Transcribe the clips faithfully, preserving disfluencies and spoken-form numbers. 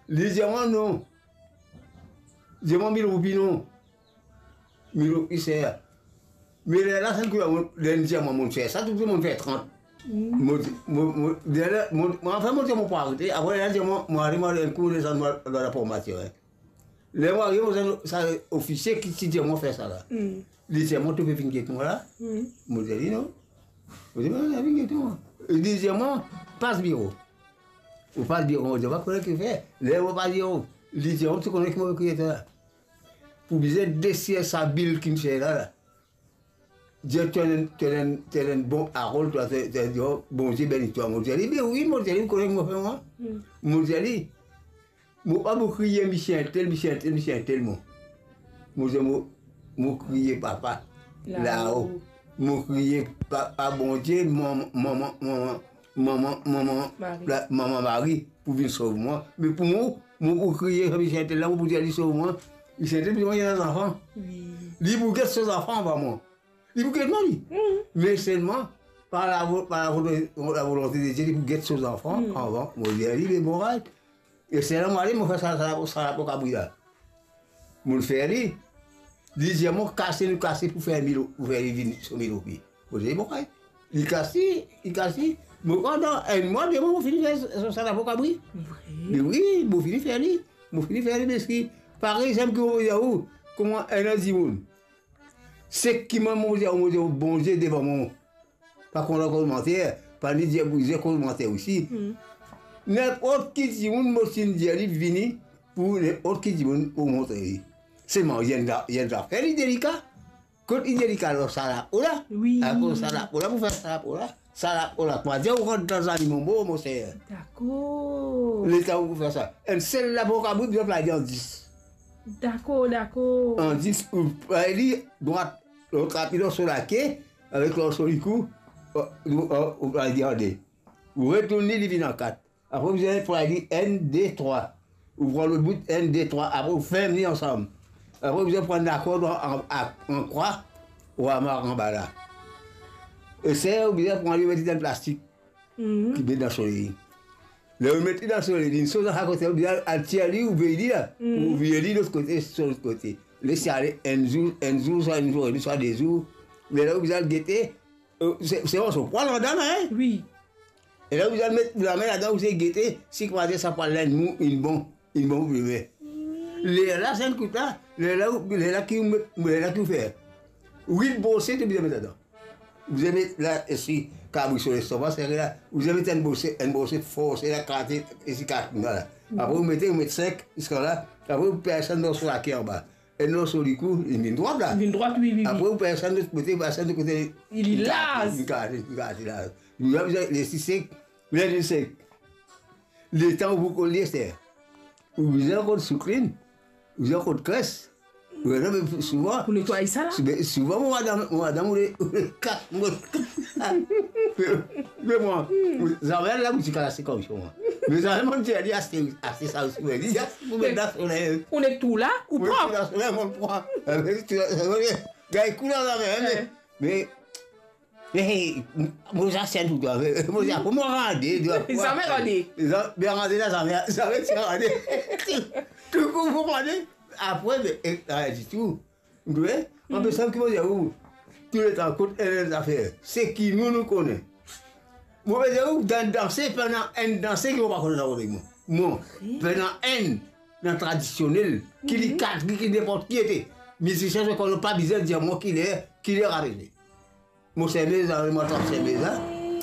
Li dir mwa non. Dir mwa mil roupi non. Mil roupi ser. Me lerla, sa enn kou la, mo, li dir mwa, mo fer sa, tou dimoun fer trant. Mm. Mo, mo, mo, lerla, mo, mo, anfin, mo dir mo pou arete. Apre, li dir mwa, mo ariv, mo al enn kou, mo desann, mo al, mo al dan laformasion, en. Ler mo arive, mo, sa, sa ofisie ki ti dir mwa fer sa la. Mm. Li dir mwa, to pe vinn get mwa la? Mm. Mo dir li non. Mo dir, non, vinn get mwa. Li dir mwa, pas biro. Ou pas biro, mo dir, pa kone ki fer. Ler mo pas biro, li dir mwa, to kone ki mo pe kriye twa la? Pou bizin desir sa bil ki mo fer la, la. Dir to enn, to enn, to enn bon Harold, twa, to, to, to, Bondie beni twa. Mo dir li, be wi, mo dir li, ou kone ki mo fer mwa? Mm. Mo dir li, mo pa pou kriye misie entel, misie entel, misie entel, mo. Mo dir, mo, mo kriye Papa lao. Lao. Mo kriye pa, pa Bondie, mama, mama, mama, mama, mama, Mari. La, mama Mari, pou vinn sov mwa. Me pou mwa, mo pou kriye misie entel la, mo pou dir li sov mwa. Misie entel, pou mwa, li ena zanfan. Wi. Li pou get so zanfan anvan mwa. Li pou get mwa, li. Mm. Me selman, par lavo-, par lavo-, lavolonte de Die, li pou get so zanfan, mm, anvan. Mo dir li, be bon, right. E se la mo ale, mo fer sa, sa, sa lapokabri la. Mo fer li. Li dir mwa, kase, nou kase pou fer mil, pou fer li vinn so mil roupi. Mo dir, bon, kay. Li kase, li kase. Mo, pandan enn mwa, de mwa, mo fini fer sa, sa lapokabri. Vre? Me wi, mo fini fer li. Mo fini fer li, parski parey, sa ki mo dir ou, kouma enn dimoun. Seki mwa, mo dir, mo dir, Bondie devan mwa. Pa kontan komanter, pa ni dir, dir komanter osi. Hmm. Ninport ki dimoun mo finn dir li vini, pou ninport ki dimoun mo montre li. Selman, li enn za-, li enn zafer li delika. Kot li delika lor sa lapo la? Wi. Akoz sa lapo la, pou fer sa lapo la. Sa lapo la, kouma dir ou rant dan zanimo mo, mo ser. Dakor. Letan ou fer sa. Enn sel lapokabri, bizin play li an dis. Dakor, dakor. An dis, ou play li drwat, lot lapi lor so lake, avek lor so likou, ou, ou, ou, ou play li an de. Ou retourn li, li vinn an kat. Apre, ou bizin play li enn, de, trwa. Ou pran lot bout, enn, de, trwa. Apre, ou ferm li ansam. Apre, ou bizin pran lakord an, an, an, an krwa, ou amar anba la. E ser, ou bizin pran li, ou met li dan plastik. Mhm. Ki met dan soley. Ler ou met li dan soley, li so sa kote, ou bizin al tir li, ou vey li la. Mhm. Ou vey li lot kote, so lot kote. Les li ale enn zour, enn zour, swa enn zour, swa de zour. Me la, ou bizin al gete, eh, se, se morso pwa ladan la, en? Wi. E la, ou bizin met lame ladan, ou bizin gete, si kouma dir sa pwa la inn mou, inn bon, inn bon pou dime. Lerla, sa enn kout la, lerla, lerla ki ou met, lerla ki ou fer. Wit brose, to bizin met ladan. Ou bizin met la, esi kabri so lestoma, sere la. Ou bizin met enn brose, enn brose forse la, kate, esi kat la. Apre, ou mete, ou met sink, ziska la. Apre, ou pers enn morso lake anba. Enn morso likou, li vinn drwat la. Li vinn drwat, wi, wi, wi. Apre, ou pers enn lot kote, ou pers enn lot kote. Li laz. Li kate, li kate, li kate la. Li, li, li, li sek, li, li sek. Letan ou pou kol li, ester. Ou bizin kot souklin, ou bizin kot kres. Ou bizin, me souvan, pou netway sa la? Sou-, me souvan, mo madam, mo madam, ou le, ou le kat, mo, me, me mwa, zame la, mo ti kalas se koumsa, mwa. Me zame, mo dir li, aste, aste sa osi, me li, aste pou met dan soley. Ou net tou la, ou pran? Ou met dan soley, mo pran. Gagn kou la, zame, me, me, Me, mo, mo zasenn pou twa, me, mo, mo rande, twa. Zame rande. Zame, me rande la, zame, zame ti rande. Tou kou mo rande. Apre, me, e, rien ditou. Ou konpran? Anplis, sa ki mo dir ou, touletan, kot enn zafer, seki nou, nou kone. Mo pe dir ou, dan danse, pena enn danse ki mo pa kone dan mo. Mo, pena enn dan tradisionel, ki li kat, ki, ki ninport ki ete. Mizisien, se konn pa bizin dir mo ki ler, ki ler arive. Mo sermez la, mo trap sermez la,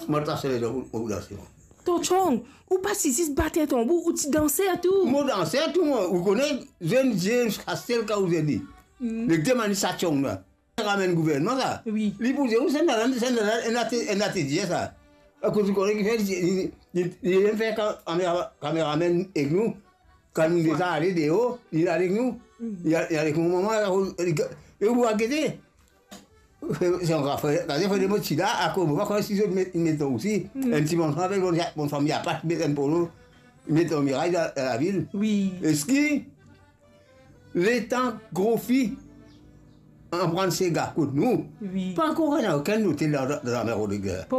mo trap sermez la, mo, mo danse, mo. Tonton, ou pa ti zis bat tanbou, ou ti danser tou? Mo danser tou, mo. Ou kone, zenn, zenn, kastel, ka ou zenn li. Mm. Nek demann li sa tyong la. Ramenn gouvernman sa. Wi. Li pou dir ou, sa ena, sa ena, ena te, ena te dir sa. Akoz ou kone ki fer, li, li, li, li fer ka-, kamera-, kameramenn ek nou. Kan nou deza ale deor, li al ek nou. Mm. Li al, li al ek mo mama, li, li, li, ou gete. Se ankor fre, gade fre de mo ti la, akoz mo pa kone si zot met, met non osi. Mm. Enn ti bann fam, bann, bann fam, li pa met enn polo, met lor miray dan, dan lavil. Wi. Eski letan grofi anpran sega kot nou, wi, pa ankor ena okenn lotel dan, dan, dan lame Rodrig la. Poko.